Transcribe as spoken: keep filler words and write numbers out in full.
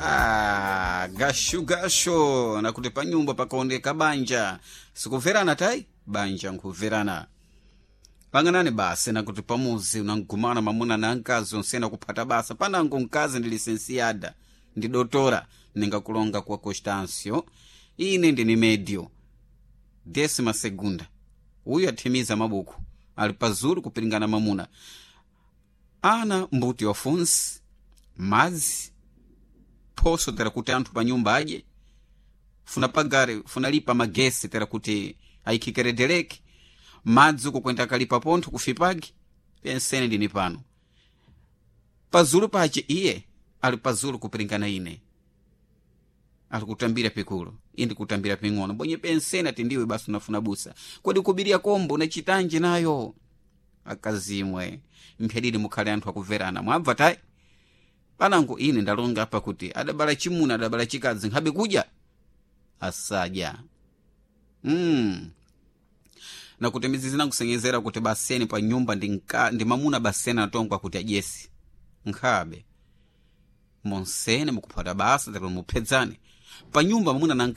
Ah, gashu gasho nakuti panyumba pakaoneka banja sikumverana tayi banja nkumverana pang'anani basi nakuti pamuzi unangumana mamuna na mkazi onsena kuphata basa panango mkazi ndi lisensiada ndi dotora ningakulonga kwa Constancio ine ndini medio décima segunda uyu athimiza mabuku ali pazulu kupiringana mamuna ana mbuti wafunsi madzi phoso tera kuti anthu pa nyumba adye funa pagare funa lipa magesi tera kuti ayikhikeredeleke madzi kukwenda kalipa pontho kufipagi pensene ndini pano pazulu pace iye ali pazulu kupiringana ine ali kutambira pikulu indi kutambira ping'ono bonye pensene ati ndiwe basi unafuna busa kodi kubiria kombo unachitanji nayo akazimwe mphyadidi mukhale anthu akumverana mwabva tayi panango ine ndalonga apa kuti adabala chimuna adabala chikadzi nkhabe kudya asadya mm. Nakuti mizizi nakusengezera kuti baseni pa nyumba ndi, nka, ndi mamuna baseni anatongwa kuti adyesi nkhabe monsene mukuphata basa tero muphedzane pa nyumba mamuna na mkazi.